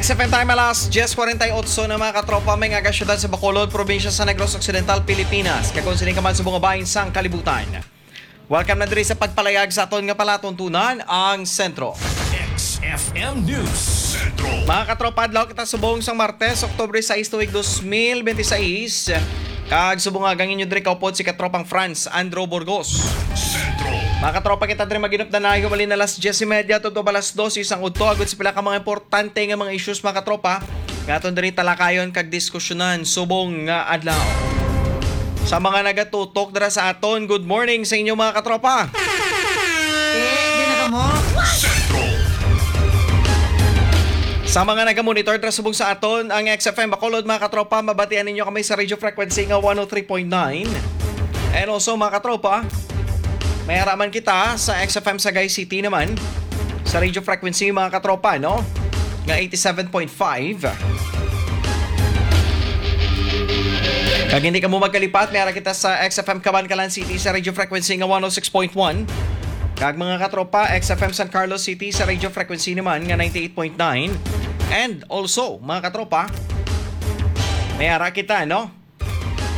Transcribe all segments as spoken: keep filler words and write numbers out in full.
X F M time, alas diyes kwarenta y otso na, mga katropa, may nga syudad sa Bacolod, probinsya sa Negros Occidental, Pilipinas. Kag kung sini ka man subong nga bahin sang kalibutan. Welcome na diri sa pagpalayag sa aton nga palatuntunan, ang Sentro. X F M News Central. Mga katropa, adlaw kita subong sang Martes, Oktubre sais, tuig dos mil benti sais. Kag subong nga ang inyo diri kaupod si katropang Franz Andrew Burgos. Sentro. Mga katropa, kita diri maginupdanay, humalin na alas diyes y media, tutob alas dos, isang udto, agud sa pila ka mga importante nga mga issues, mga katropa, nga aton diri talakayon kag diskusyonan subong nga adlaw. Sa mga nagatutok dira sa aton, good morning sa inyo, mga katropa. Eh, di na ka mo? Sentro. Sa mga nagamonitor dira subong sa aton, ang X F M Bacolod, mga katropa, mabatian ninyo kami sa radio frequency nga one oh three point nine. And also, mga katropa, may araman kita sa X F M Sagay City naman, sa radio frequency, mga katropa, no? Nga eighty-seven point five. Kag hindi kamo magkalipat, may ara kita sa X F M Kabankalan City sa radio frequency nga one oh six point one. Kag, mga katropa, X F M San Carlos City sa radio frequency naman nga ninety-eight point nine. And also, mga katropa, may ara kita, no?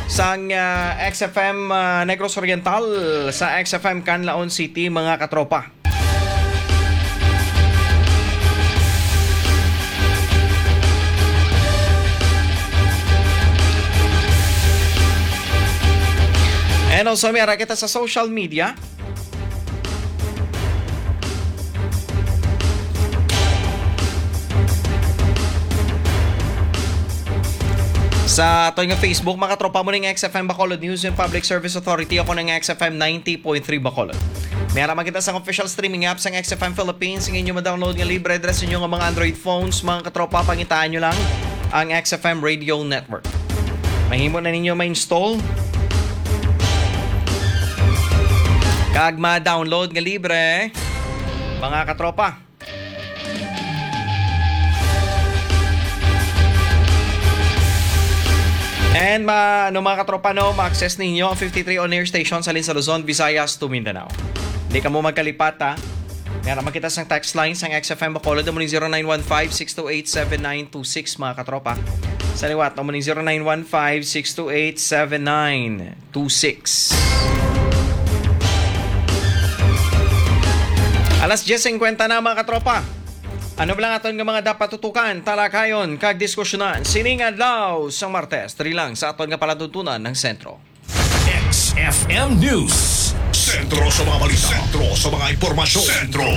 Sang, ah, X F M, ah, Negros Oriental, sa X F M Canlaon City, mga katropa. And also, may ara kita sa social media. Sa aton nga Facebook, mga katropa, mo ning X F M Bacolod News and Public Service Authority, ako ning X F M ninety point three Bacolod. May ara man kita sa official streaming app sang X F M Philippines, nga inyo ma-download nga libre dira sa inyo nga mga Android phones, mga katropa, pangitaan nyo lang ang X F M Radio Network. Mahimo na ninyo ma-install kag ma-download nga libre, mga katropa. And ma-, ano, mga katropa, no, ma-access ninyo ang fifty-three on-air stations halin sa Luzon, Visayas, to Mindanao. Di kamo magkalipat, ha. May ara man kita sang text line sang X F M Bacolod, amo ning zero nine one five, six two eight, seven nine two six, mga katropa. Sa liwat, amo ning zero nine one five, six two eight, seven nine two six. Alas diyes singkwenta na, mga katropa. Ano ba lang aton nga mga dapat tutukan, talakayon, kag diskusyonan sining adlaw sang Martes, diri lang sa aton nga palatuntunan ng Sentro. X F M News. Sentro sa mga balita. Sentro sa mga impormasyon. Sentro.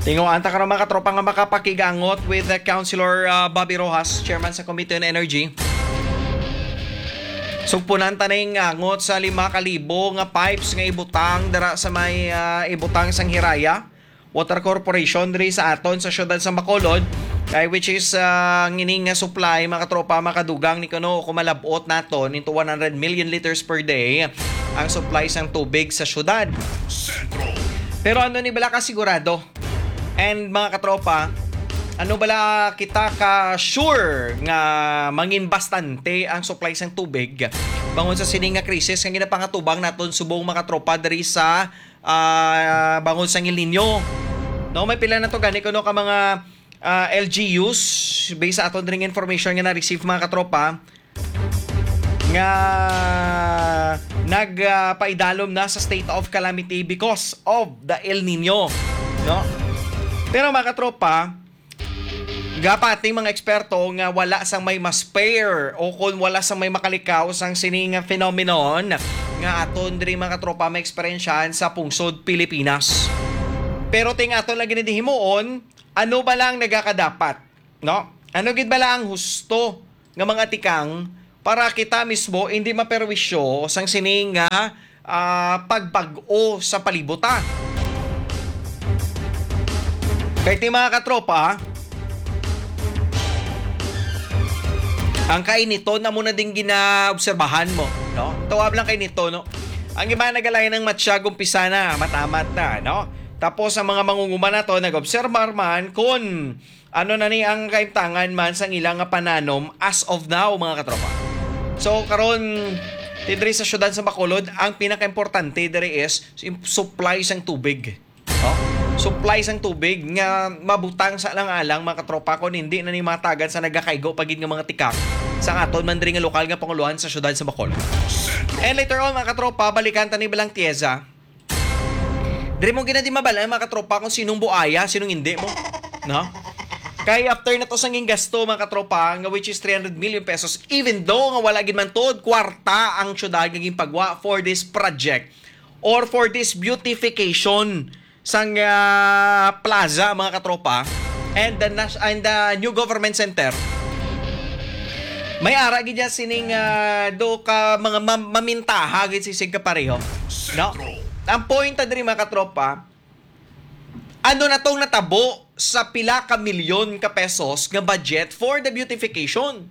Tinguhaan ta karon, mga katropa, nga makapakigangot with the Councilor, uh, Bobby Rojas, Chairman sa Committee on Energy. Sugpunan ta ning angot sa lima ka libo nga pipes nga ibutang dira sa may, uh, ibutang sang Hiraya Water Corporation diri sa aton sa siyudad sa Bacolod, kay which is, ah, ang ining nga supply, mga katropa, makadugang ni kuno kung malab-ot naton into one hundred million liters per day ang supply sang tubig sa siyudad. Sentro. Pero ano ni bala ka sigurado? And, mga katropa, ano bala kita ka sure nga mangin bastante ang supply sang tubig bangon sa sini nga krisis nga ginapangatubang naton subong, mga katropa, diri sa ah, bangon sang El Niño. No, may pila na to gani kuno ka mga, ah, L G Us, based sa aton dring information nga na-receive, mga katropa, nga nag, ah, paidalom na sa state of calamity because of the El Niño, no? Pero, mga katropa, gapati mga eksperto nga wala sang may mas fair o kon wala sang may makalikaw sang sini nga phenomenon nga aton diri, mga katropa, maeksperiensyahan sa pungsod Pilipinas. Pero ting aton lagi ni dihimuon, ano ba lang nagakadapat, no? Ano gid bala ang husto nga mga tikang para kita mismo hindi maperwisyo sang sini nga, ah, pagbag-o sa palibot, ah. Kay ti, mga katropa, ang kainiton na muna ding ginaobserbahan mo, no? Tawag lang kainiton, no? Ang iba nagalayan ng matsyag, umpisa na, matamat na, no? Tapos ang mga mangunguma na to, nag-obserbar man kung ano na ni ang kaimtangan man sang ila nga pananom as of now, mga katropa. So, karon, ti diri sa siyudad sa Bacolod, ang pinakaimportante diri is yung supply sang tubig. No? supply sang tubig nga mabutang sa alang-alang, mga katropa, kung hindi na ni matagad sa nagakaigo pa gid nga mga tikang sa aton man diri nga lokal nga panguluhan sa siyudad sa Bacolod. And later on, mga katropa, balikan ta ni Balang Tiesa. Diri mo gina di mabal-an, mga katropa, kung sinong buaya, sinong hindi mo. No? Kay after na to sang gingasto, mga katropa, nga which is three hundred million pesos, even though nga wala gid man tuod kwarta ang syudad nga ginpagwa for this project or for this beautification sang ah, plaza, mga katropa, and the nas- and the new government center. May ara gid dyan sining ah, do ka mga mam- mamintaha gid sisig ka pareho. No? Ang point ta diri, mga katropa, ano na tong natabo sa pila ka milyon ka pesos nga budget for the beautification?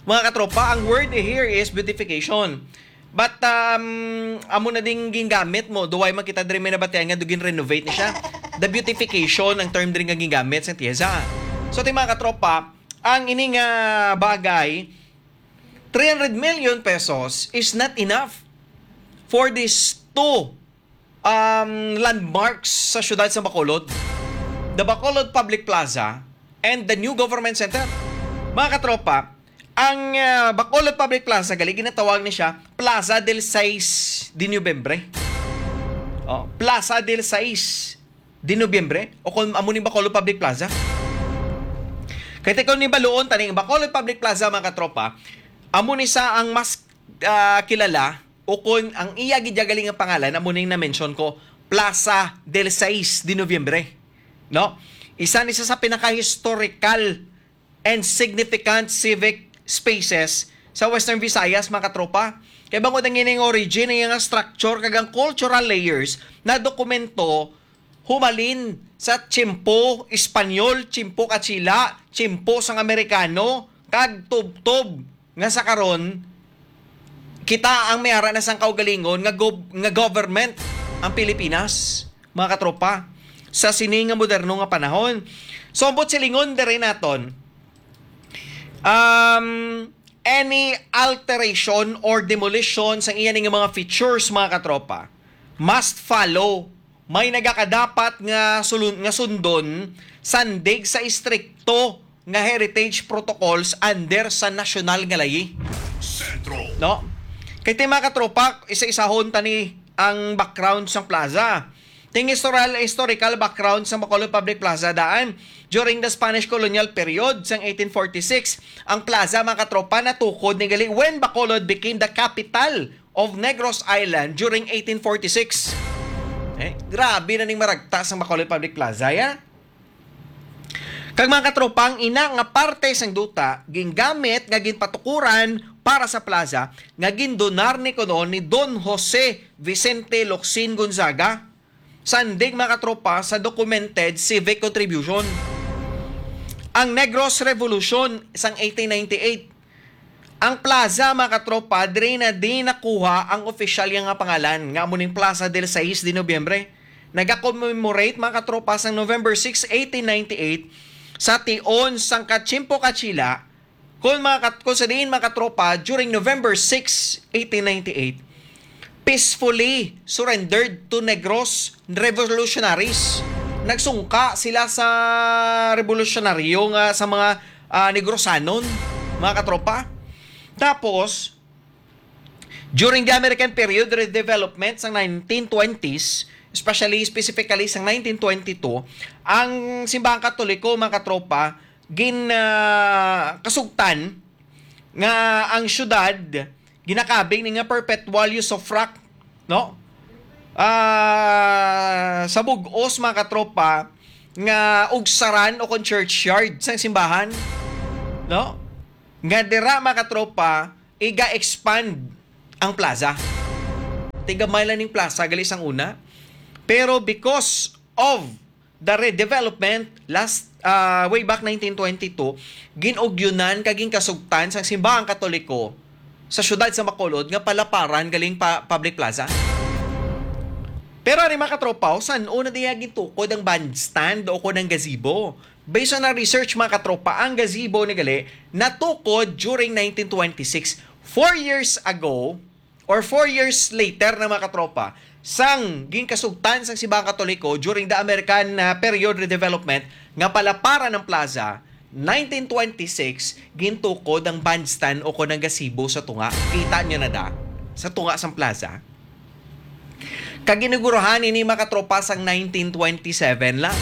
Mga katropa, ang word here is beautification. But um, amo na ding gingamit mo, duway man kita diri may nabatian nga dugin renovate ni siya. The beautification ang term diri nga gingamit sa Tiesa. So, ti mga katropa, ang ini nga bagay, three hundred million pesos is not enough for these two um, landmarks sa siyudad sa Bacolod, the Bacolod Public Plaza and the new government center. Mga katropa, ang ah, Bacolod Public Plaza, gali ginatawag ni siya Plaza del Seis de Noviembre. Oh, Plaza del Seis de Noviembre, o kung amo ni Bacolod Public Plaza. Kay tikon ni baluon tani ang Bacolod Public Plaza, mga katropa, amo ni sa ang mas ah, kilala, ukon ang iya gid gali nga pangalan amo ning na-mention ko, Plaza del Seis de Noviembre, no? Isa ni sa, sa pinaka-historical and significant civic spaces sa Western Visayas, mga katropa. Kay bangod ang ining origin, ang iyang structure kag ang cultural layers na dokumento humalin sa tiyempo Espanyol, tiyempo Kachila, tiyempo sang Amerikano, kag tubtob nga sa karon, kita ang may ara na sang kaugalingon nga gob- nga government ang Pilipinas, mga katropa, sa sini nga moderno nga panahon. So, ang buot silingon diri naton, um, any alteration or demolition sang iya ning mga features, mga katropa, must follow, may nagakadapat nga sulun- nga sundon sandig sa istrikto nga heritage protocols under sa nasyonal nga layi. Sentro. No? Kay ti, mga katropa, isa-isahon tani ang background sang plaza. Ting historical, historical background sang Bacolod Public Plaza daan. During the Spanish colonial period sang eighteen forty-six, ang plaza, mga katropa, natukod ni gali when Bacolod became the capital of Negros Island during eighteen forty-six. Eh, grabe na ning maragta sang Bacolod Public Plaza, ya. Kag, mga katropa, ang ina nga parte sang duta gingamit nga ginpatukuran para sa plaza nga gindonar ni kuno ni Don Jose Vicente Locsin Gonzaga, sandig, mga katropa, sa documented civic contribution. Ang Negros Revolution sang eighteen ninety-eight, ang plaza, mga katropa, diri na di nakuha ang opisyal nga pangalan, nga amo ning Plaza del Seis de Noviembre. Nagakommemorate, mga katropa, sang November six, eighteen ninety-eight, sa tion sang Kachimpo Kachila, kung, mga kat-, kung sa diin, mga katropa, during November six, eighteen ninety-eight, peacefully surrendered to Negros revolutionaries. Nagsungka sila sa revolusyonaryo nga sa mga ah, Negrosanon, mga katropa. Tapos, during the American period redevelopment sa nineteen twenties, especially, specifically sa nineteen twenty-two, ang Simbahang Katoliko, mga katropa, gin ah, kasugtan nga ang syudad ginakabig ni nga perpetual usufruct, no? Ah, sa bug-os, mga katropa, nga ugsaran o kon churchyard sang simbahan, no? Nga dira, mga katropa, iga-expand ang plaza. Tigamay lang ning plaza gali sang una. Pero because of the redevelopment last, ah, way back nineteen twenty-two, gin-ugyunan kag ginkasugtan sang simbahang Katoliko sa siyudad sa Bacolod nga palaparan galing pa public plaza. Pero ari, mga katropa, san-o na diya gintukod ang bandstand o kon ang gazebo? Based on our research, mga katropa, ang gazebo ni gali natukod during nineteen twenty-six. Four years ago, or four years later na, mga katropa, sang ginkasugtan sang Simbahang Katoliko during the American, ah, period redevelopment nga palaparan ang plaza, nineteen twenty-six, gintukod ang bandstand o kon ang gazebo sa tunga. Kita nyo na da? Sa tunga sang plaza. Kag inugurahan ini, mga katropa, sang nineteen twenty-seven lang.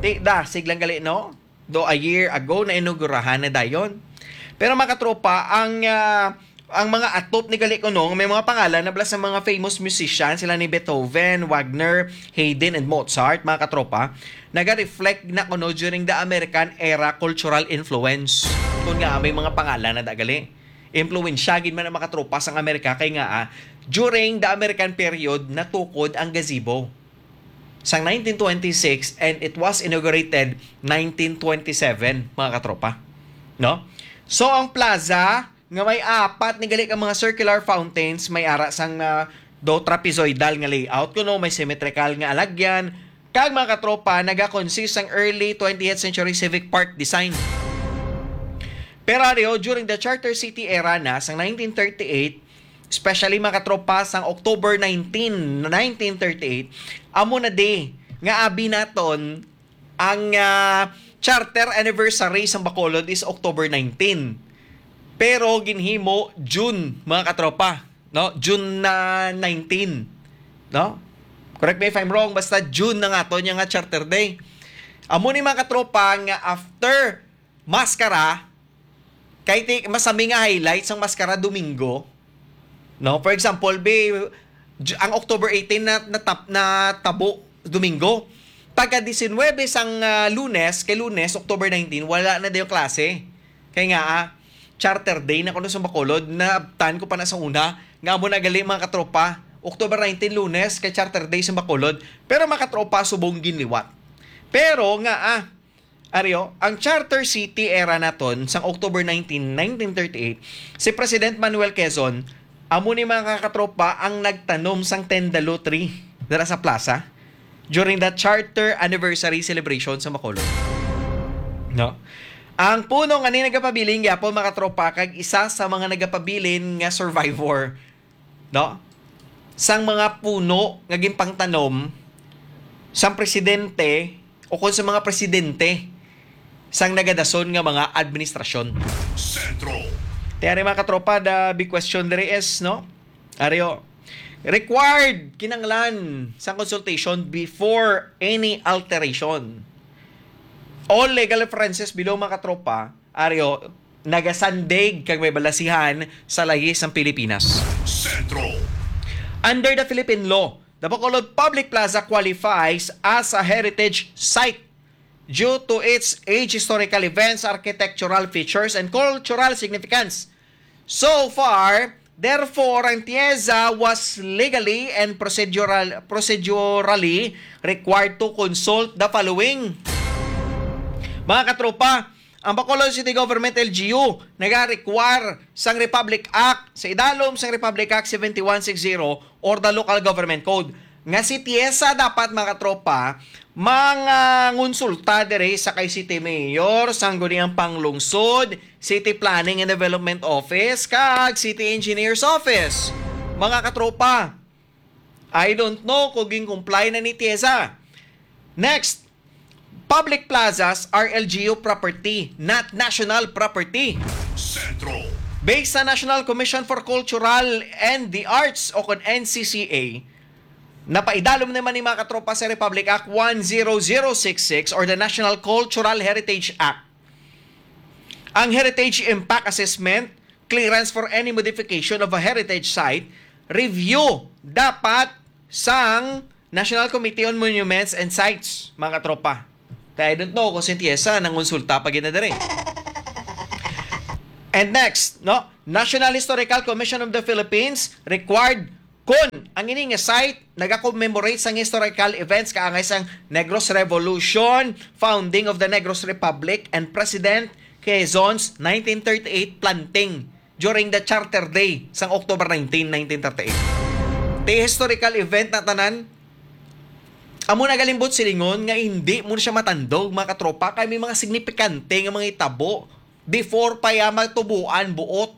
Di da, siglang gali, no? Do a year ago na inugurahan na dayon. Pero, mga katropa, ang, ah, ang mga atop ni gali kuno, may mga pangalan na bala sa mga famous musician, sila ni Beethoven, Wagner, Haydn, and Mozart, mga katropa, naga-reflect na kuno during the American era cultural influence. Kung nga may mga pangalan na dagali. Impluwensya gid man ang mga katropa sang Amerika kay nga, ah, during the American period, natukod ang gazebo sang nineteen twenty-six, and it was inaugurated nineteen twenty-seven, mga katropa. No? So, ang plaza nga may apat ni gali ka mga circular fountains, may ara sang, ah, do trapezoidal nga layout kuno, may symmetrical nga alagyan, kag, mga katropa, naga-consist sang early twentieth century civic park design. Pero ari, oh, during the Charter City era na, sang nineteen thirty-eight, especially, mga katropa, sang October nineteen, nineteen thirty-eight, amo na di nga abi naton ang, ah, charter anniversary sang Bacolod is October nineteen. Pero ginhimo June, mga katropa, no? June na nineteen, no? Correct me if I'm wrong, basta June na nga to niya nga Charter Day. Amo ni, mga katropa, nga after Maskara, kay ti, masami nga highlight sang Maskara Domingo. No? For example, be, Ju-, ang October eighteen na, natap-, natabo Domingo. Pagka diecinuebe sang, ah, Lunes, kay Lunes, October nineteen, wala na dayon klase. Kay nga, ah, Charter Day na kuno sa Bacolod, naabtan ko pa na sa una, nga amo na gali, mga katropa, October nineteen, Lunes, kay Charter Day sa Bacolod. Pero, mga katropa, subong ginliwat. Pero nga, ah, Ari, oh, ang Charter City era naton sang October nineteen, nineteen thirty-eight, si President Manuel Quezon, amo ni, mga katropa, ang nagtanom sang tendalu tree dira sa plaza during the Charter Anniversary Celebration sa Bacolod. No? Ang puno nga ni nagapabilin gyapon, mga katropa, kag isa sa mga nagapabilin nga survivor, no? Sang mga puno nga ginpangtanom sang presidente o kon sa mga presidente sang nagadason nga mga administrasyon. Sentro. Kaya rin, mga katropa, the big question diri is, no? Ari, oh, required, kinanglan sang consultation before any alteration. All legal references below, mga katropa, ari, oh, nagasandig kag may balasihan sa lahis sang Pilipinas. Sentro. Under the Philippine law, the Bacolod Public Plaza qualifies as a heritage site due to its age, historical events, architectural features, and cultural significance. So far, therefore, ang TIEZA was legally and procedural, procedurally required to consult the following. Mga katropa, ang Bacolod City Government, L G U, nagarequire sang Republic Act, sa idalom sang Republic Act seventy-one sixty or the Local Government Code, nga si TIEZA dapat, mga katropa, mangonsulta diri sa kay City Mayor, Sangguniang Panglungsod, City Planning and Development Office, kag City Engineer's Office. Mga katropa, I don't know kung gin-comply na ni TIEZA. Next, public plazas are L G U property, not national property. Sentro. Based sa National Commission for Cultural and the Arts o kon N C C A, napaidalom naman ni, mga katropa, sa Republic Act one zero zero six six or the National Cultural Heritage Act. Ang Heritage Impact Assessment, clearance for any modification of a heritage site, review dapat sang National Committee on Monuments and Sites, mga katropa. Kaya I don't know kung si TIEZA nangonsulta pa gid na diri. And next, no? National Historical Commission of the Philippines required kon ang ini nga site nagakommemorate sang historical events kaangay sang Negros Revolution, founding of the Negros Republic, and President Quezon's nineteen thirty-eight planting during the Charter Day sang October nineteen, nineteen thirty-eight. Ti historical event na tanan, amo nagalimbot silingon nga hindi mo siya matandog, mga katropa, kay may mga signifikante nga mga hitabo before pa ya matubuan buot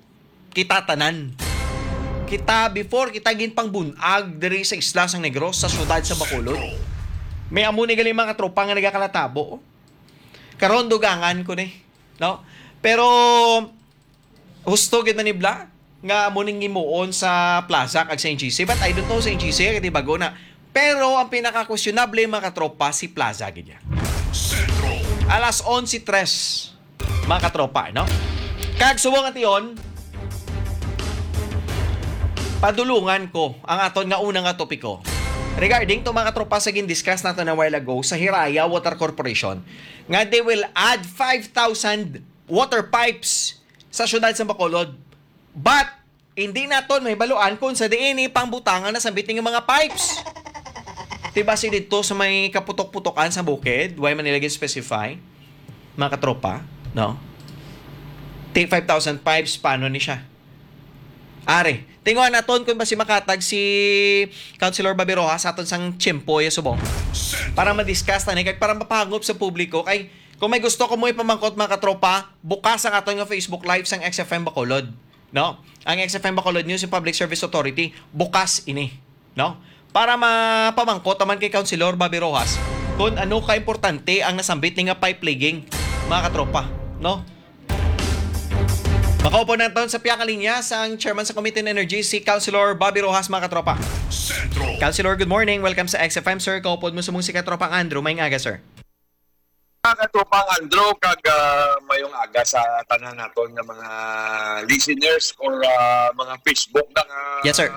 kita tanan. Kita, before, kita ginpangbun-ag diri sa isla sang Negros, sa siyudad sa Bacolod. May amo ni gali, mga tropa, nga nagakalatabo. Karon, dugangan ko ni, no? Pero husto gid na nibla nga amo ning himuon sa plaza kag sa N G C. But I don't know sa N G C, kay di bago na. Pero ang pinaka-questionable, mga katropa, si plaza gid niya. Alas onse tres, mga katropa, no? Kag subong ation, padulungan ko ang aton nga una nga topiko. Regarding to, mga katropa, sa gin-discuss nato na while ago sa Hiraya Water Corporation, nga they will add five thousand water pipes sa siyudad sa Bacolod. But hindi naton mahibaluan kung sa diin ni pangbutangan na sambit ning mga pipes. Diba si dito sa may kaputok-putokan sa bukid? Why man nila gin-specify? Mga katropa, no? Ti five thousand pipes, paano ni siya? Are, tinguha naton kung basi makatag si Councilor Bobby Rojas sa aton sang tiyempo ya subong. Para ma-discuss tani, kag para mapahangop sa publiko. Kay kung may gusto ko mo ipamangkot, mga katropa, bukas ang aton nga Facebook Live sang X F M Bacolod, no? Ang X F M Bacolod News and Public Service Authority, bukas ini, no? Para mapamangkot naman kay Councilor Bobby Rojas kung ano ka importante ang nasambit ni nga pipe leaking, mga katropa, no? Makaupod naton sa pihak nga linya sang chairman sa Committee on Energy, si Councilor Bobby Rojas, mga katropa. Councilor, good morning. Welcome sa X F M, sir. Kaupod mo subong si Katropang Andrew. Maayong aga, sir. Mga Katropang Andrew, kag, ah, mayong aga sa tanan naton nga mga listeners or, ah, mga Facebook na nga Yes, sir.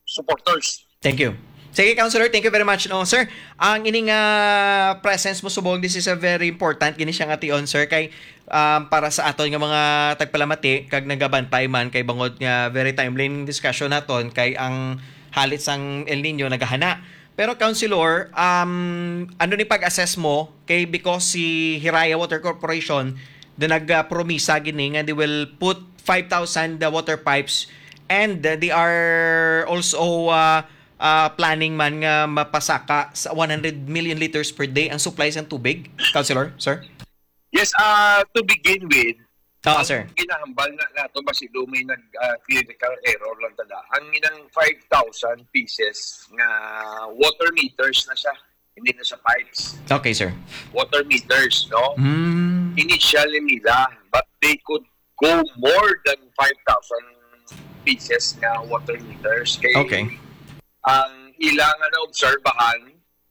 supporters. Thank you. Sige, Councilor, thank you very much. No, sir, ang ining, ah, presence mo subong, this is a very important gini siya nga tion, sir, kay, um, para sa aton nga mga tagpalamati kag nagabantay man, kay bangod nga very timely ning discussion naton, kay ang halit sang El Niño nagahana. Pero, Councilor, um, ano ni pag-assess mo kay, because si Hiraya Water Corporation na nagpromisa gini nga they will put five thousand, uh, water pipes, and, uh, they are also, uh, uh, planning man nga mapasaka sa one hundred million liters per day ang supply sang tubig, Councilor, sir? Yes, ah, to begin with, Oo, ang sir. ginahambal na nato, basi do may nag, ah, clerical error lang tada. Ang inang five thousand pieces nga water meters na siya, hindi na siya pipes. Okay, sir. Water meters, no? Mm. Initially nila, but they could go more than five thousand pieces nga water meters. Kay Okay. ang ila nga naobserbahan,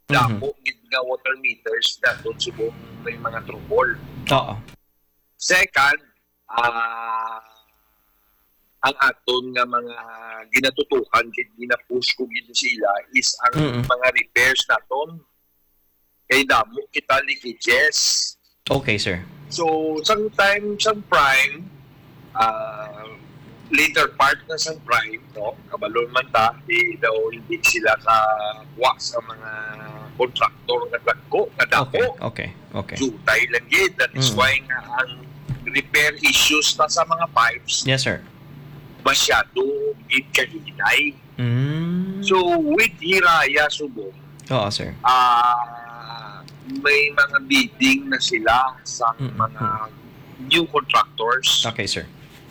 Mhm. damo gid nga water meters daton subong may mga trouble. Oo. Second, ah, ang aton nga mga ginatutukan gid, ginapush ko gid sila is ang Mm-mm. mga repairs naton. Kay damo kita leakages. Okay, sir. So, sang time, sang prime, ah, later part na sang prime, no? Kabalo man ta, di daw hindi sila kakuha sa mga contractor nga dagko, nga dako. Okay, okay, okay. Jutay lang gid. That is Mm. why nga ang repair issues ta sa mga pipes Yes, sir. masyado gid kahinay. Mm. So, with Hiraya subong, Oo, sir. ah, may mga bidding na sila sa Mm, mga mm. new contractors Okay, sir.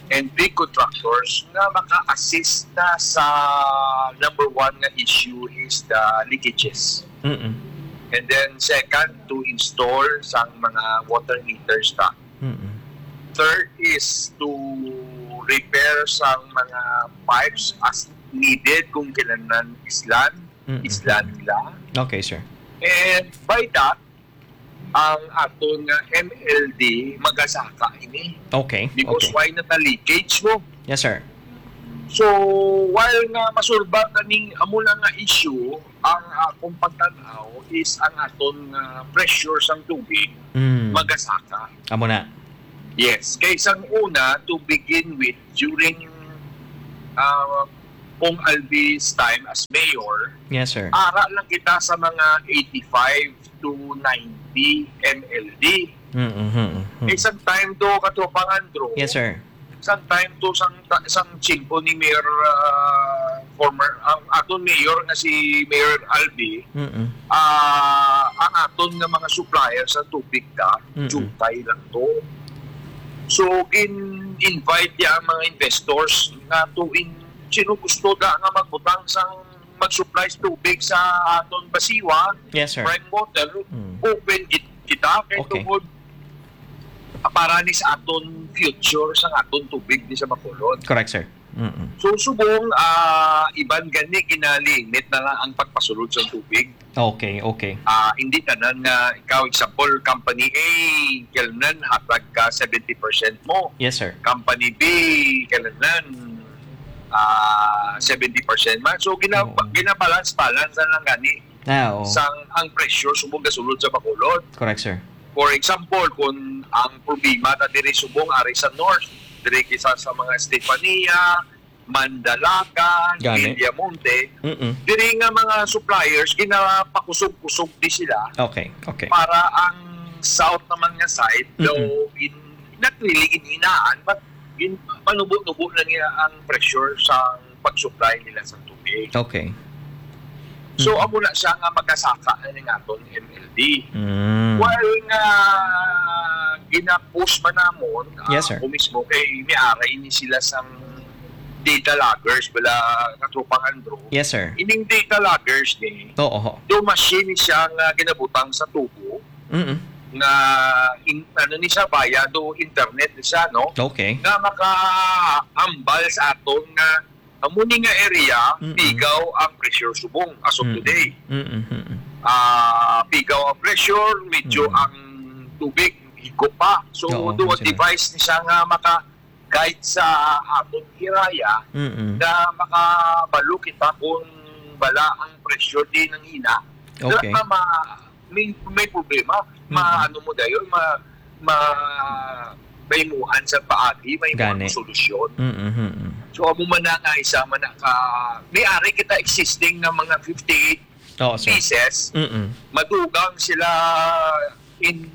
and big contractors nga maka-assist na sa number one nga issue is the leakages. Mm-mm. And then second, to install sang mga water meters ta. Mm-mm. Third is to repair sang mga pipes as needed kung kinahanglan islan, Mm-mm. islan nila. Okay, sir. And by that, ang aton nga M L D magasaka ini. Okay, Because okay. why na ta leakage mo? Yes, sir. So, while nga masulbad na ning amo na nga issue, ang akong pagtan-aw is ang aton nga pressure sang tubig Mm. magasaka. Amo na. Yes. Kay sang una, to begin with, during, ah, Pong Albi's time as mayor, Yes, sir. ara lang kita sa mga eighty-five to ninety M L D. Mm, mm, mm, mm. Kay sang time to, Katropang Andrew, Yes, sir. sang time to, sang ta-, sang tiyempo ni Mayor, ah, former, ang aton mayor nga si Mayor Albi, Mm-mm. ah, ang aton nga mga supplier sa tubig ta, Mm-mm. jutay lang to. So, gin-invite niya ang mga investors nga to in-, sino gusto da nga magbutang sang mag-supply sa tubig sa aton Basiwa, Yes, sir. Prime Water, Mm. open gid kita kay Okay. tungod para ni sa aton future sa aton tubig di sa Bacolod. Correct, sir. Mm-mm. So, subong, ah, iban gani ginalimit na lang ang pagpasulod sa tubig. Okay, okay. Ah, hindi tanan nga, ikaw, example, company A, kailangan hatag ka seventy percent mo. Yes, sir. Company B, kailangan, ah, seventy percent man. So, gina-, Oo. ginabalance-balance na lang gani Ah, oo. sang ang pressure subong gasulod sa Bacolod. Correct, sir. For example, kung ang problema ta diri subong ari sa North, diri kisa sa mga Estefania, Mandalagan, Gani. Villamonte, Mm-mm. diri nga mga suppliers ginapakusog-kusog di sila Okay, okay. para ang south naman nga side, Mm-mm. though in, not really ginhinaan, but gin-, panubo-nubo na niya ang pressure sa pag-supply nila sa tubig. Okay. So, Mm. amo na siya nga makasaka na ning aton M L D. Mm. While nga gina-push man namon, ah, Yes, sir. ako mismo, kay may ara ini sila sang data loggers, bala, Katropang Andrew. Yes, sir. Ining data loggers ni, Oo, ho. do machine siya nga ginabutang sa tubo, Mm-mm. nga in-, ano ni siya, via do internet ni siya, no? Okay. Nga makaambal sa aton nga amo ni nga area, Mm-mm. pigaw ang pressure subong as of Mm. today. Mm-mm, mm-mm. Ah, pigaw ang pressure, medyo Mm. ang tubig higop pa. So, Oo, do a sila. device ni siya nga maka-guide sa aton hiraya Mm-mm. nga makabalo kita kung bala ang pressure di nanghina. Okay. Nga ma-, may, may problema. Mm-mm. Ma-, ano mo dayon, ma-, ma-, maimuhan sa paagi, maimuhan Gani. mo solusyon. Mm-mm, mm-mm. So, amo man na nga isa man na ka, may ari kita existing nga mga fifty-eight Oo, sir. pieces. Mm-mm. Madugang sila in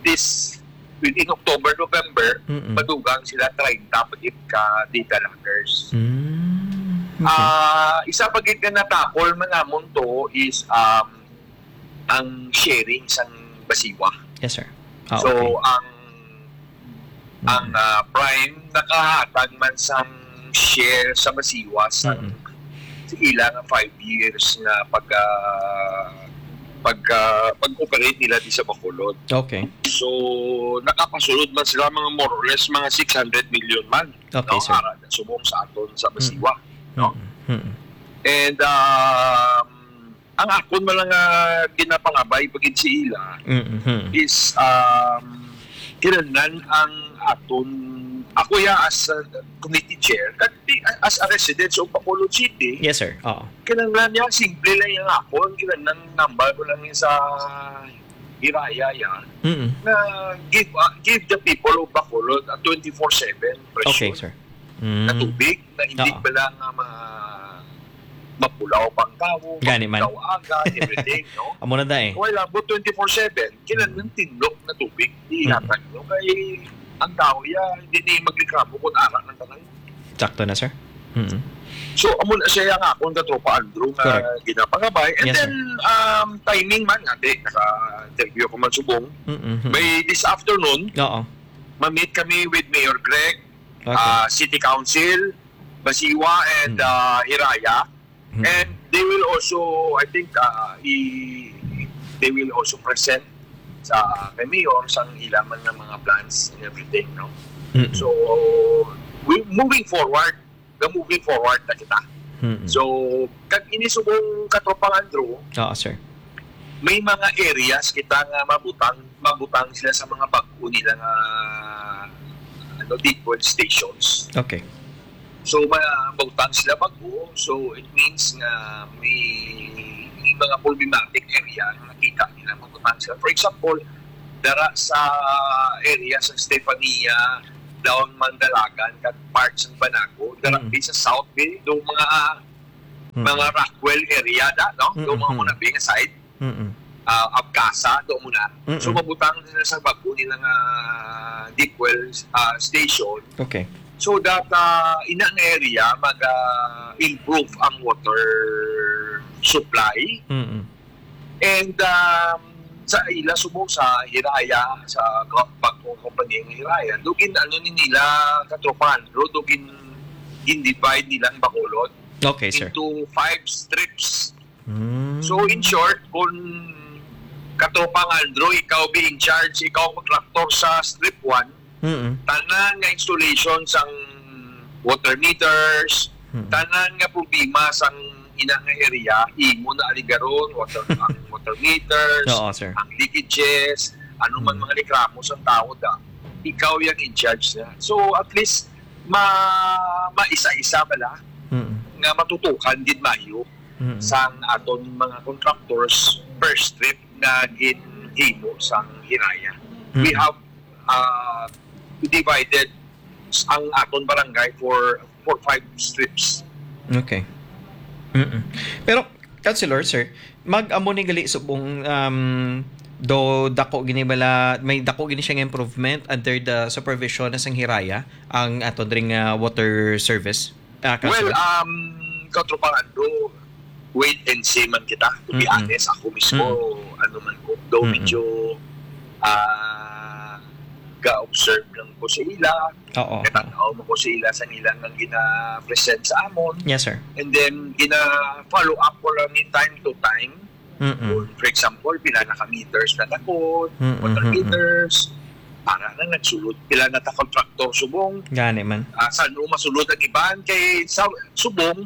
this, in October, November, Mm-mm. madugang sila treinta pa gid ka data loggers. Mm, okay. Ah, isa pa gid nga natakol man namon to is, um, ang sharing sang Basiwa. Yes, sir. Ah, So, okay. ang, ang, Mm. ah, Prime nakahatag man sang share sa Basiwa sa, Mm. sa ila nga five years nga pag, ah, pag, ah, pag-operate nila di sa Bacolod. Okay. So, nakapasulod man sila mga more or less mga six hundred million man, Okay, no? sir. Ara na subong sa aton sa Mm. Basiwa, no? Mm. Mm. And, um, ang akon man lang nga ginapangabay pa gid sa ila Mm-hmm. is, um, kinahanglan ang aton, ako ya as a committee chair, kag di, as a resident sa Bacolod City, Yes, sir. Oo. kinahanglan niya, simple lang yung akon, kinahanglan nambal ko lang yung sa Hiraya yan, Mm. na give, uh, give the people of Bacolod a twenty-four seven Okay, pressure sir. na Mm. tubig, na hindi Oo. pala nga ma-, mapulaw pang tawo, Gani man. mapulaw agad, everything, no? Amo na, day. Kung wala po twenty-four seven, kinahanglan Mm. tinlok na tubig, Mm. ihatag nyo. Kay ang tao, ya, hindi na yung magreklamo kung ara ng tanan. Sakto na, sir. Mm. So, amo na siya ang akong katropa Andrew nga Correct. ginapangabay. And Yes, then, sir. um, timing man, ate, naka-interview ko man subong. Mm-hmm. By this afternoon, Oo. ma-meet kami with Mayor Greg, Okay. ah, City Council, Basiwa, and, Mm. ah, Hiraya. Mm. And they will also, I think, ah, i-, they will also present sa kay Mayor sang ila man nga mga plans and everything, no? Mm-mm. So, we, moving forward, ga moving forward na kita. Mm-mm. So, kag ini subong katropang Andrew, Oo, sir. may mga areas kita nga mabutang, mabutang sila sa mga bag-o nila nga, ano, deep well stations. Okay. So, ma-, mabutang sila bag-o. So, it means nga may, may mga problematic area nga nakita nila mabutang sila. For example, dara sa area sa Stefania, down Mandalagan, kag parts ng Banago, dara Mm. sa South Bay, do mga, Mm. mga Rockwell area da, no? Do Mm, mga mm. muna Bay nga side, Mm. ah, Abcasa, do muna. Mm. So, mabutang nila sa bag-o nila nga deep well, ah, station. Okay. So that, ah, ina nga area, mag, ah, improve ang water supply. Mm. And, um, sa ila subong sa Hiraya, sa ko-, bag-ong kompanya nga Hiraya, dugin ano ni nila katropan, ro dugin gin-divide nila ang Bacolod Okay, sir. into five strips. Mm. So, in short, kung Katropang Andrew, ikaw be in charge, ikaw ang contractor sa strip one, Mm-mm. tanan nga installation sang water meters, Mm-mm. tanan nga problema sang ina nga area, imo na aligaron, water, ang water meters, Oo, sir. ang leakages, ano man Mm. mga reklamo sang tao da, ikaw yang in charge na. So, at least, ma-, maisa-isa bala Mm-mm. nga matutukan gid maayo Mm-mm. sang aton mga contractors per strip nga ginhimo sang Hiraya. We Mm-mm. have, uh, divided ang aton barangay for, for five strips. Okay. Mm-mm. Pero, Councilor, sir, mag-amo ni gali subong, um, do dako gini bala, may dako gini siya nga improvement under the supervision na sang Hiraya ang aton ring, ah, water service? Ah, Well, Councilor? um, Katropang Andrew, wait and see man kita. To be Mm-mm. honest, ako mismo, Mm. ano man ko, daw Mm-mm. medyo, ah, ga-observe lang ko sa ila. Oo, oo. Katanaw mo ko sa ila sa nila nga gina-present sa amon. Yes, sir. And then, gina-follow up ko lang ni time to time. Mm-mm. Kung, for example, pila na ka meters na takod, Mm-mm, water mm-mm. meters, para na nagsulod, pila na ta contractor subong. Gani man. Ah, san-o masulod ang iban? Kay sa subong,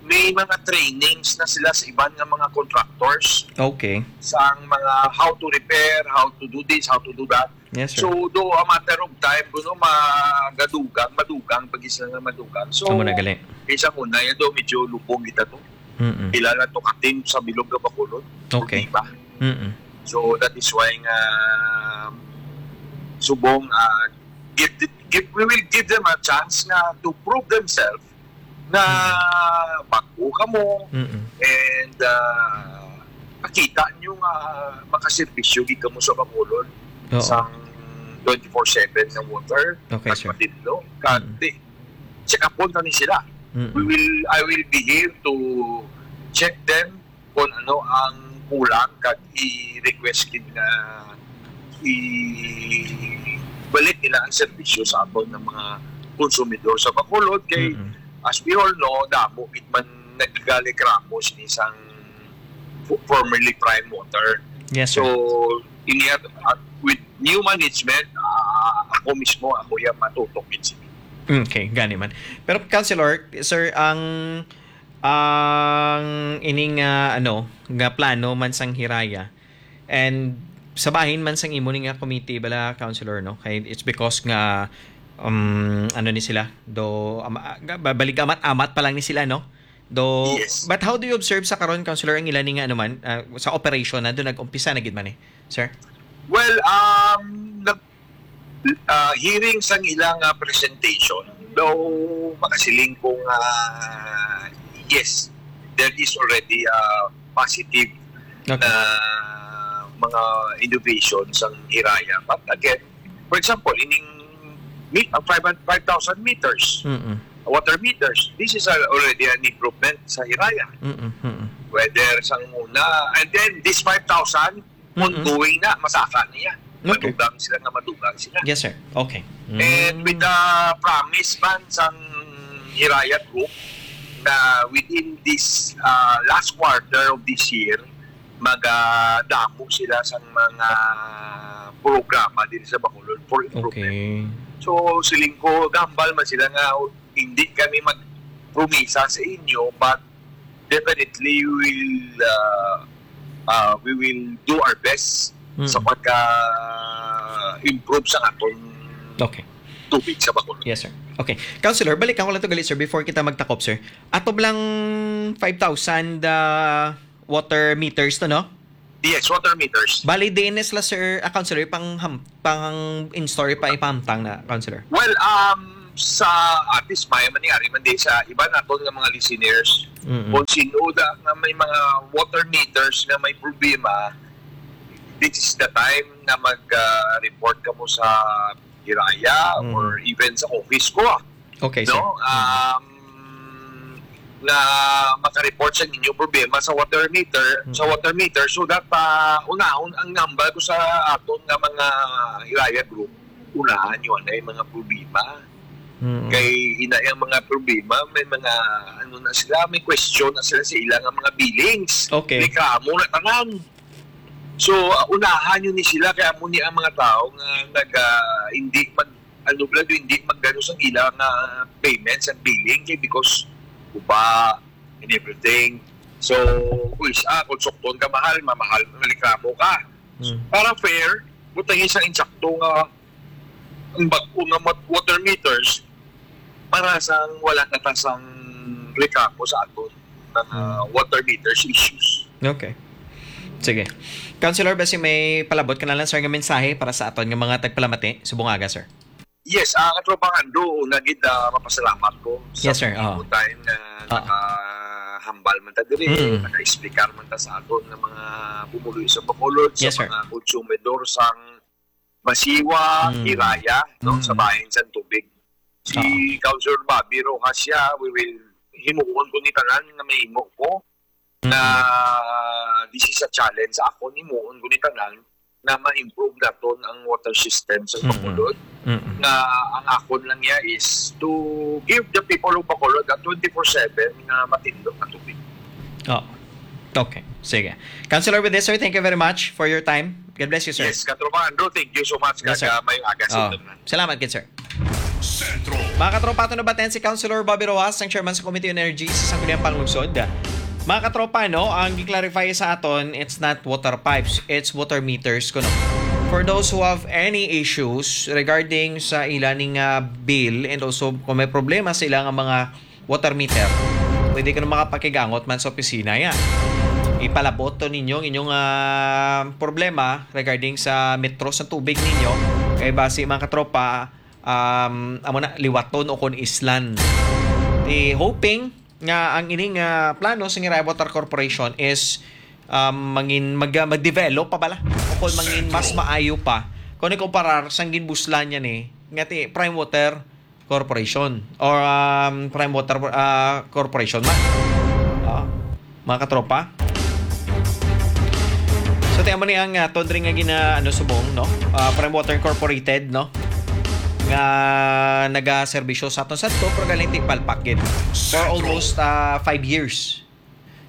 may mga trainings na sila sa iban nga mga contractors Okay. sa mga how to repair, how to do this, how to do that. Yes, sir. So, do a matter of time, kuno magadugang, madugang, pag isa nga madugang. So, Amo na gali. isa muna, yan do, medyo lubong kita to. Mm-mm. Pila na to ka team sa Bilog nga Bacolod. Okay. Di ba? Mm-mm. So, that is why nga, subong, ah, give, give, we will give them a chance nga to prove themselves na Mm. bag-o kamo Mm-mm. and, ah, makita nyo nga makaserbisyo gid kamo sa Bacolod Oo. sang twenty-four seven nga water Okay, at sir. Matinlo. Kag Mm. di, check upon kami sila. Mm-mm. We will, I will be here to check them kung ano ang kulang kag i-request gid nga i-balik nila ang serbisyo sa aton nga mga konsumidor sa Bacolod. Kay, Mm-mm. as we all know, damo gid man nagreklamo sini sang fo-, formerly Prime Water. Yes, sir. So, ini at, at with new management, ah, ako mismo, ako yang matutok gid sini. Okay, gani man. Pero, Councilor, sir, ang, ang ining, ah, ano, nga plano man sang Hiraya, and sa bahin man sang imo ni nga committee bala, Councilor, no? Kay it's because nga, um, ano ni sila, do, ama-, ga-, ba-, balig amat-amat pa lang ni sila, no? Do, Yes. but how do you observe sa karon, Councilor, ang ila ni nga, ano man, ah, sa operation na, do nag-umpisa na gid man eh, sir? Well, um, nag-, ah, hearing sang ilang, ah, presentation, though makasiling ko nga, yes, there is already a positive Okay. na mga innovation sang Hiraya. But again, for example, ining mi-, ang five hundred, five thousand meters, Mm-mm. water meters, this is a, already an improvement sa Hiraya. Mm-mm, mm-mm. Whether sang una, and then this five thousand, Mm-mm. ongoing na, masaka niya. Okay. Madugang sila nga madugang sila. Yes, sir. Okay. And Mm. with the promise man sang Hiraya Group na within this, uh, last quarter of this year, magadamo sila sang mga programa din sa Bacolod for improvement. Okay. So, siling ko, gambal man sila nga hindi kami magpromisa sa inyo, but definitely we will, uh, uh, we will do our best Mm. sa pagka-improve sa aton Okay. tubig sa Bacolod. Yes, sir. Okay. Councilor, balikan ko lang to gali, sir, before kita magtakop, sir. Ato lang five thousand, uh, water meters to, no? Yes, water meters. Bali, diin na sila, sir, ah, Councilor, pang ham-, pang in-store pa ipahamtang na, Councilor? Well, um, sa atis maya man ni ari man di sa iba naton nga mga listeners, Mm-mm. kung sino da nga may mga water meters nga may problema, this is the time na mag, ah, report kamo sa Hiraya Mm. or even sa office ko, ah. Okay, sir. No? Mm. Um, na maka-report sa inyong problema sa water meter, sa Mm. water meter, so that, ah, unahon ang number ko sa aton nga mga Hiraya group, unahan nyo na yung mga problema. Mm. Kay ina ang mga problema, may mga, ano na sila, may question na sila sa ilang mga billings. Okay. Reklamo na tanan. So, uh, unahan yun ni sila, kaya mo ni ang mga tao nga nag, ah, hindi mag, ano, bala, hindi magano sa ilang, ah, payments and billing, kay because uba and everything. So, kuis, ah, kung sukton ka mahal, mamahal, reklamo ka. Mm. Para fair, butang isang insakto nga ang bag-o nga mat-, water meters para sa wala na ta sang reklamo sa aton nga, ah, Mm. water meters issues. Okay. Sige. Councilor, basi may palabot ka na lang, sir, nga mensahe para sa aton nga mga tagpalamati subong aga, sir. Yes, ah, Katropang Andrew, una gid, ah, mapasalamat ko sa Yes, sir. Oo. time nga Oo. nakahambal man ta diri, Mm. naka-explicar man ta sa aton nga mga pumuluyo sa Bacolod, sa Yes, sir. mga konsumidor sang Masiwa, Mm. Hiraya, no, sa Mm. bahin sang tubig. Si Ah. Councilor Bobby Rojas siya, we will, himuon ko ni tanan nga mahimo ko Mm. na this is a challenge sa akon, himuon ko ni tanan na ma-improve naton ang water system sa Mm. Bacolod. Mm. Nga ang akon lang niya is to give the people of Bacolod a twenty-four seven nga matindog na tubig. Oh. Okay. Sige. Councilor, with this, sir, thank you very much for your time. God bless you, sir. Yes, Katropa Andrew, thank you so much. Yes, sir. Kag, ah, may aga sa Oh. inyo tanan. Salamat gid, sir. Sentro. Mga katropa, ato nabatin si Councilor Bobby Rojas, ang chairman sa Committee on Energy sa Sangguniang Panglungsod. Mga katropa, no, ang gi-clarify sa aton, it's not water pipes, it's water meters kuno. For those who have any issues regarding sa ila ning, ah, bill and also kung may problema sa ila nga mga water meter, pwede kuno makapakigangot man sa opisina ya. Ipalabot to ninyo ang inyong, ah, problema regarding sa metro sa tubig ninyo. Kay basi, mga katropa, um, amo na, liwaton o kon islan. Di hoping nga ang ining, ah, plano sa Ngirayaw Water Corporation is, um, mangin-, mag-, mag-develop pa bala o kon mangin mas Sentro. maayo pa kung ikumparar sang ginbuslan niya ni nga ti Prime Water Corporation or, um, Prime Water, ah, Corporation man. Ah, mga katropa. So, ti amo ni ang, ah, tondre nga gina-, ano, subong, no? Ah, Prime Water Incorporated, no? Nga nagaserbisyo sa aton sa to, pero galing ti palpak gid. For Sentro. almost, ah, five years.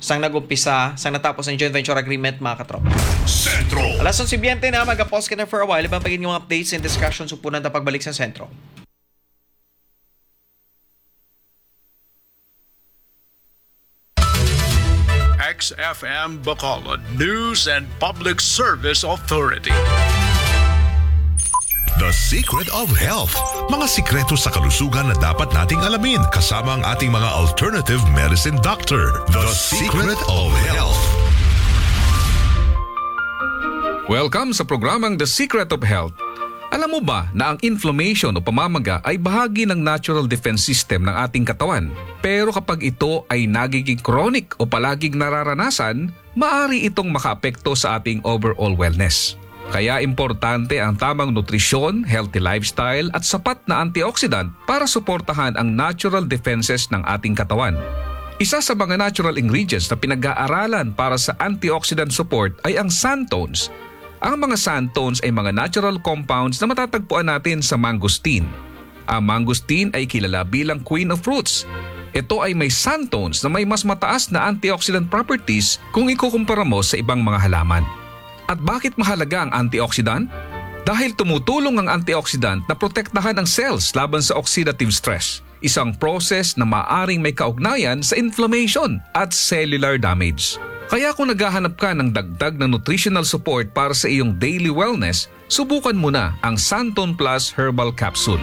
Sang nag-umpisa, sang natapos ang joint venture agreement, mga katropa. Sentro. Alas onse biyente na, mag-pause ka na for a while. Ibang pagin yung mga updates and discussions, upunan ta pagbalik sa Sentro. X F M Bacolod News and Public Service Authority. The Secret of Health. Mga sikreto sa kalusugan na dapat nating alamin kasama ang ating mga alternative medicine doctor. The Secret of Health. Welcome sa programang The Secret of Health. Alam mo ba na ang inflammation o pamamaga ay bahagi ng natural defense system ng ating katawan? Pero kapag ito ay nagiging chronic o palaging nararanasan, maaari itong makaapekto sa ating overall wellness. Kaya importante ang tamang nutrisyon, healthy lifestyle, at sapat na antioxidant para suportahan ang natural defenses ng ating katawan. Isa sa mga natural ingredients na pinag-aaralan para sa antioxidant support ay ang xanthones. Ang mga xanthones ay mga natural compounds na matatagpuan natin sa mangosteen. Ang mangosteen ay kilala bilang queen of fruits. Ito ay may xanthones na may mas mataas na antioxidant properties kung ikukumpara mo sa ibang mga halaman. At bakit mahalaga ang antioxidant? Dahil tumutulong ang antioxidant na protektahan ang cells laban sa oxidative stress, isang process na maaring may kaugnayan sa inflammation at cellular damage. Kaya kung naghahanap ka ng dagdag na nutritional support para sa iyong daily wellness, subukan mo na ang Santon Plus Herbal Capsule.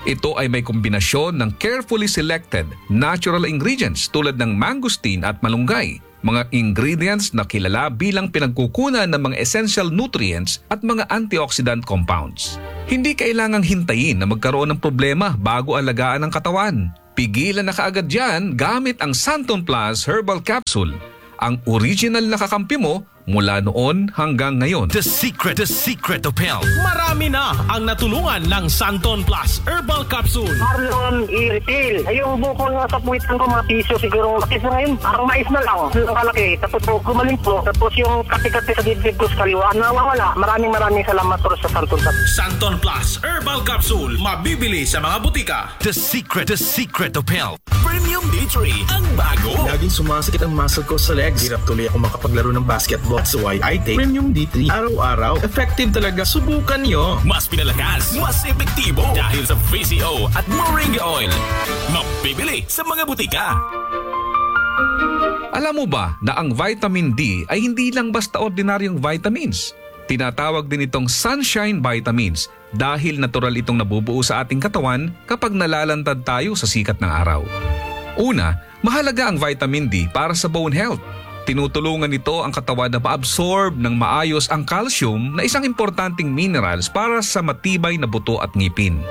Ito ay may kombinasyon ng carefully selected natural ingredients tulad ng mangosteen at malunggay, mga ingredients na kilala bilang pinagkukunan ng mga essential nutrients at mga antioxidant compounds. Hindi kailangang hintayin na magkaroon ng problema bago alagaan ang katawan. Pigilan na kaagad yan gamit ang Santon Plus Herbal Capsule. ang original na kakampi mo mula noon hanggang ngayon. The secret, the secret of health. Marami na ang natulungan ng Santon Plus Herbal Capsule. Marlon E. Refill. Ay, yung bukol nga sa puwitan ko, mga piso siguro. Kasi sa ngayon, parang mais na lang. Ang kalaki. Tapos po, gumaling po. Tapos yung kati-kati sa dibdib ko sa kaliwa, nawawala. Maraming, maraming salamat po sa Santon Plus. Santon Plus Herbal Capsule. Mabibili sa mga butika. The secret, the secret of health. Premium D three, ang bago. Laging sumasakit ang muscle ko sa legs. Hirap tuloy ako makapaglaro ng basketball. That's why I take Premium D three araw-araw. Effective talaga. Subukan nyo. Mas pinalakas, mas epektibo dahil sa V C O at Moringa Oil. Mabibili sa mga butika. Alam mo ba na ang vitamin D ay hindi lang basta ordinaryong vitamins? Tinatawag din itong sunshine vitamins dahil natural itong nabubuo sa ating katawan kapag nalalantad tayo sa sikat ng araw. Una, mahalaga ang vitamin D para sa bone health. Tinutulungan nito ang katawan na ma-absorb ng maayos ang calcium na isang importanteng minerals para sa matibay na buto at ngipin.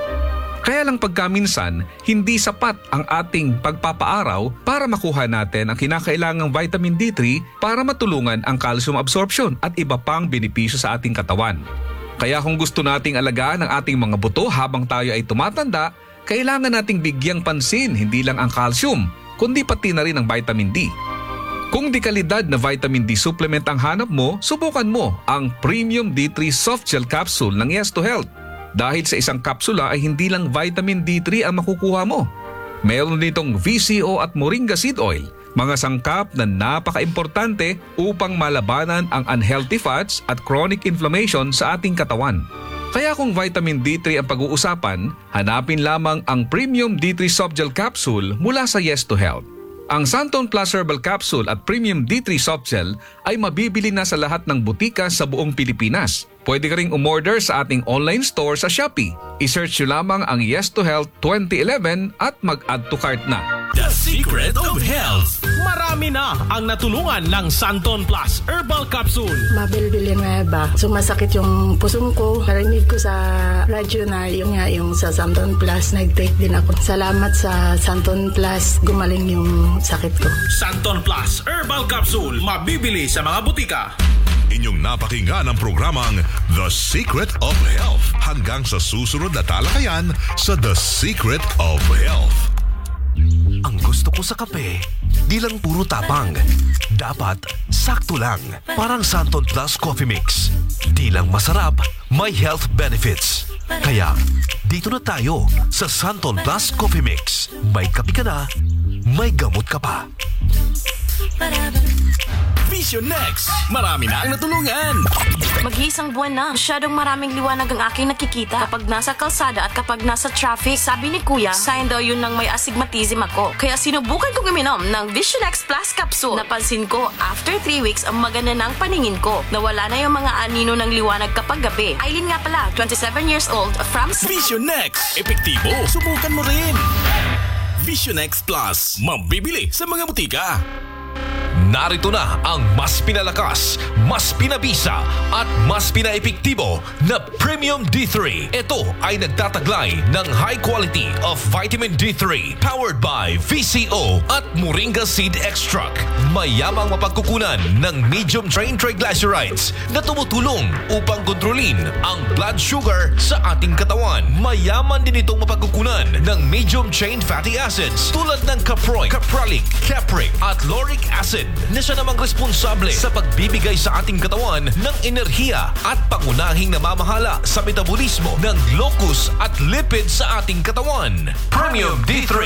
Kaya lang pagkaminsan, hindi sapat ang ating pagpapaaraw para makuha natin ang kinakailangang vitamin D three para matulungan ang calcium absorption at iba pang benepisyo sa ating katawan. Kaya kung gusto nating alagaan ang ating mga buto habang tayo ay tumatanda, kailangan nating bigyang pansin hindi lang ang calcium, kundi pati na rin ang vitamin D. Kung dekalidad na vitamin D supplement ang hanap mo, subukan mo ang Premium D three Soft Gel Capsule ng Yes to Health. Dahil sa isang kapsula ay hindi lang vitamin D three ang makukuha mo. Meron ditong V C O at moringa seed oil, mga sangkap na napakaimportante upang malabanan ang unhealthy fats at chronic inflammation sa ating katawan. Kaya kung vitamin D three ang pag-uusapan, hanapin lamang ang Premium D three Soft Gel Capsule mula sa Yes to Health. Ang Santon Plus Herbal Capsule at Premium D three Soft Gel ay mabibili na sa lahat ng butika sa buong Pilipinas. Pwede ka ring umorder sa ating online store sa Shopee. I-search nyo lamang ang Yes to Health twenty eleven at mag-add to cart na. The Secret of Health. Marami na ang natulungan ng Santon Plus Herbal Capsule. Mabel Villanueva, sumasakit yung pusong ko. Narinig ko sa radyo na yung nga yung sa Santon Plus, nag-take din ako. Salamat sa Santon Plus, gumaling yung sakit ko. Santon Plus Herbal Capsule, mabibili sa mga butika. Inyong napakinggan ang programang The Secret of Health. Hanggang sa susunod na talakayan sa The Secret of Health. Ang gusto ko sa kape, di lang puro tapang. Dapat sakto lang. Parang Santon Plus Coffee Mix. Di lang masarap, may health benefits. Kaya, dito na tayo sa Santon Plus Coffee Mix. May kape ka na, may gamot ka pa. Vision Next, marami na ang natulungan. Mag-iisang buwan na, masyadong maraming liwanag ang aking nakikita kapag nasa kalsada at kapag nasa traffic. Sabi ni Kuya, sign daw yun ng may astigmatism ako. Kaya sinubukan kong uminom ng Vision X Plus Capsule. Napansin ko, after three weeks, ang maganda na ang paningin ko. Nawala na yung mga anino ng liwanag kapag gabi. Aileen nga pala, twenty-seven years old, from Cebu. Vision X, epektibo. Subukan mo rin. Vision X Plus, mabibili sa mga butika. Narito na ang mas pinalakas, mas pinabisa, at mas pinaepektibo na Premium D three. Ito ay nagtataglay ng high quality of vitamin D three, powered by V C O at Moringa Seed Extract. Mayamang mapagkukunan ng medium chain triglycerides na tumutulong upang kontrolin ang blood sugar sa ating katawan. Mayaman din itong mapagkukunan ng medium chain fatty acids tulad ng caproic, capralic, capric, at lauric acid na siya namang responsable sa pagbibigay sa ating katawan ng enerhiya at pangunahing namamahala sa metabolismo ng glucose at lipid sa ating katawan. Premium D three.